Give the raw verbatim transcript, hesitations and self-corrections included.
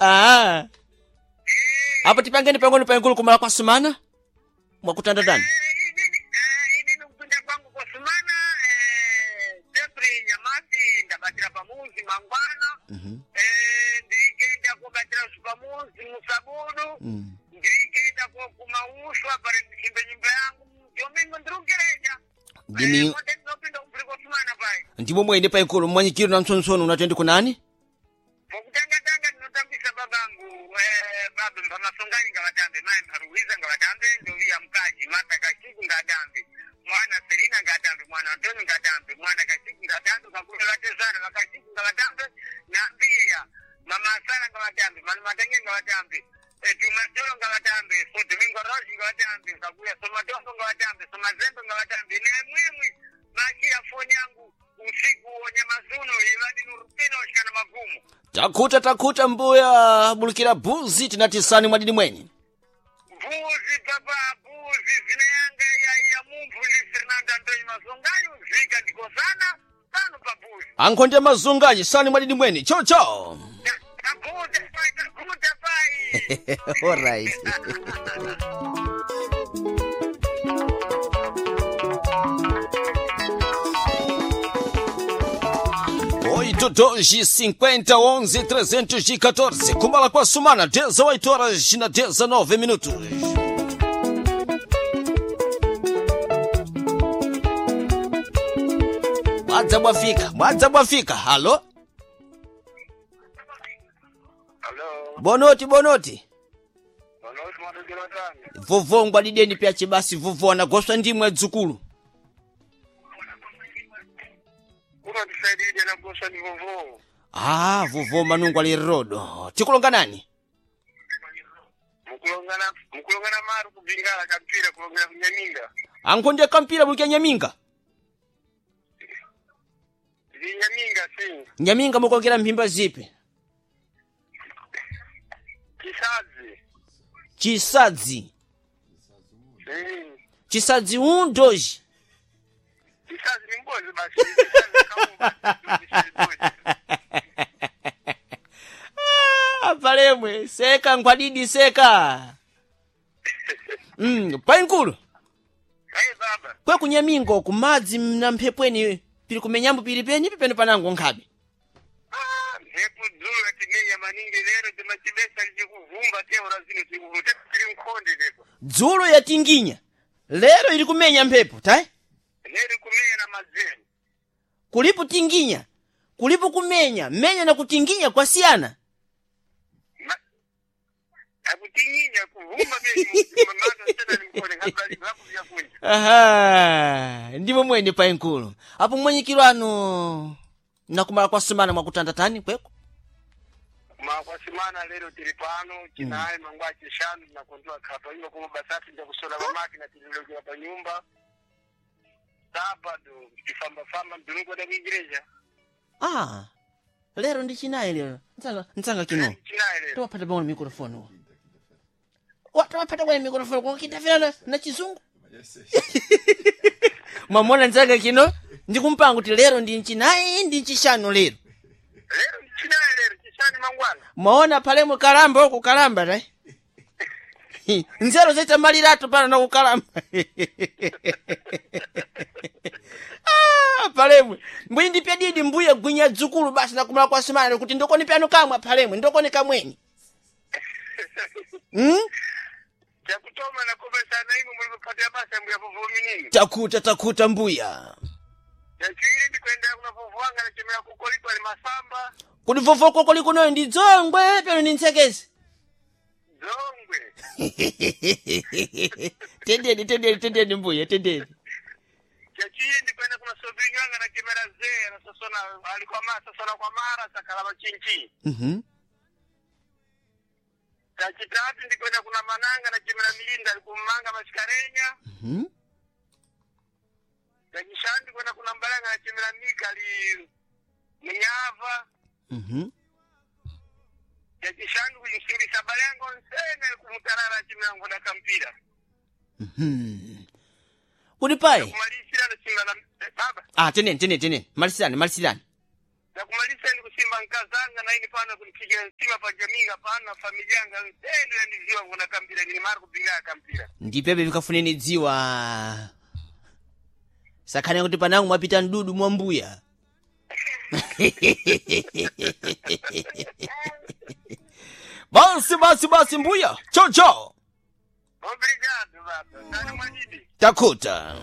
Ah. Eh, Apo tipangeni pang'ono paikulu kumala kwa sumana? Mwakutanda tani? eh, inini eh, inini kupinda kwangu kwa sumana eh, Jeffrey Nyamasi ndabatira pamuzi mangwana Mhm. eh, ndirikenda kubatira pamuzi musabudu Mm. ndirikenda ko kumaushwa pari ndichimbe nyumba yangu domingo ndirungereja Ndimi eh, kote ndinopinda kupiri kwa sumana pai ndimo mwene paikulu mwanyikiro na mtsontsonu unatendi kunani? Pokutanga-tanga ndinotambisa babangu eh, baba mpamasongani ngavatambe mai mparuwiza ngavatambe ndoviya mukaji mata kachiku ngatambe mwana selina ngatambe mwana antoni ngatambe mwana kachiku ngatambe kakule vatezana vakachiku ngavatambe nambiya mama asara ngavatambe manu matenge ngavatambe eh, tumasoro ngavatambe so domingo rosi ngavatambe kakuya somadombo ngavatambe somazembe ngavatambe nemwimwi machiya foni yangu usiku wonyamazunu ivadinurupinoshikana magumu Takuta takuta mbuya bulukira buzi tinatisani mwadini mweni. Mbuzi baba mbuzi zina yanga ya ya mumphu ndi Fernando Antonio Mazongayo zvika ndikosana pano pa mbuzi. Ankhonde mazungaji sani mwadini mweni. Chao chao. Takuta pai takuta pai. All right. Oito, dois, cinquenta, onze, trezentos e quatorze. Kumala kwa sumana, dezoito horas na dezenove minutos. Mwadza bwafika, mwadza bwafika. Halo? Hello. Bonoti, bonoti. Bonoti mwadukira tani. Vovongwa dideni pya chibasi vovo anagoswa ndimwe dzukulu. Kuno tisaidie na gosa ni vovo. Ah, vovo manungu ali rodo. Tikulonga nani? Mukulongana mukulongana maru kubingala kampira kulongera kunyaminga. Ankhonde kampira mulukya nyaminga. Vinyaminga si. Nyaminga mukongera mphimba zipi? Kisazi. Chisadzi. Si. Chisadzi um, dois. Kisazi ni mbozi basi. Kisazi kaumba. Ah, palemwe seka ngwadidi seka. Mm, painkulu. Hey baba. Kwe kunyaminga uku madzi na mphepweni pili kumenyambo pili penyi pipene panango nkhabe. Ah, mhepo dzulo yatimenya maningi lero timachibesa lichikuvumba teura zino tikuvumba tiri mkhonde lepo Dzulo yatinginya. Lero ili kumenya mphepo, tai? lero kumenya na madzeni Kulipo tinginya, kulipo kumenya, menya na kutinginya kwasiyana. Ma- akutinginya kuvumba mado tena ni mkhonde kabla hakuvya kunja Aha, ndimo mwene painkulu. Apo mwenyikiro anu nakumala kwa sumana mwakutanda tani kweko. makwasimana lero tiri pano chinayi mangwa chishanu tinakondoa khapa iwo kuma basati njakusola pamakina tililokera pa nyumba sabado tifambafamba mduniko da kuigreja Ah, lero ndi chinayi lero. Ntsanga ntsanga kino. chinayi lero Tawapata bwana microphone uwo. Wa tawapata bwana microphone kwa kitafira na, na chizungu. Mwamona ntsanga kino ndikumpanga kuti lero ndi nchinayi ndi nchishanu lero. lero chinayi lero chishanu mangwana Mwaona pale mukalamba uku kalamba tai. Nzero zaita malirato pano na kukalamba. Ah, palemwe. Mbwi ndipye didi mbuye gwinya dzukulu basi nakumala kwa simana kuti ndokoni pyano kamwe palemwe ndokoni kamweni. Mm? chakutoma nakopesana imwe muli kuphatira basa mbuya povominini Takuta takuta mbuya. chachiwiri ndikuendera kuna povowanga nachemera kukoliko ali masamba Kuti vovoko kuli kunoyo ndi dzongwe pano ndi ntsekezi. dzongwe Tendeni tendeni tendeni mbuya tendeni. chachiwiri ndikuenda kuna sovinywanga nachemera zee anasosona ali kwa mara sosona kwa mara sakala machinchi Mhm. chachitatu ndikuenda kuna mananga nachemera milinda ali kumanga mashikarenya Mhm. chachishanu ndikuenda kuna mbalanga nachemera mika ali munyava Mhm. chachishanu kuchisimbisa balango nsene ali kumutarara achemera ngoda kampira Mhm. Kuti pai. kumalisira nasimba na eh, baba Ah, tendeni tendeni tendeni. Malisirani malisirani. ndakumalisa ndikusimba Nkazanga na ini pano kunipigira mtima pa jaminga pano na familia yanga tendo yandiziwa kuna kampira ni Marco Binga kampira. Ndipebe vikafuneni dziwa. Sakhane kuti panangu mwapita mdudu mwa mbuya. Basi basi basi mbuya. Chao chao. Obrigado baba. Tani mwajidi. Takuta.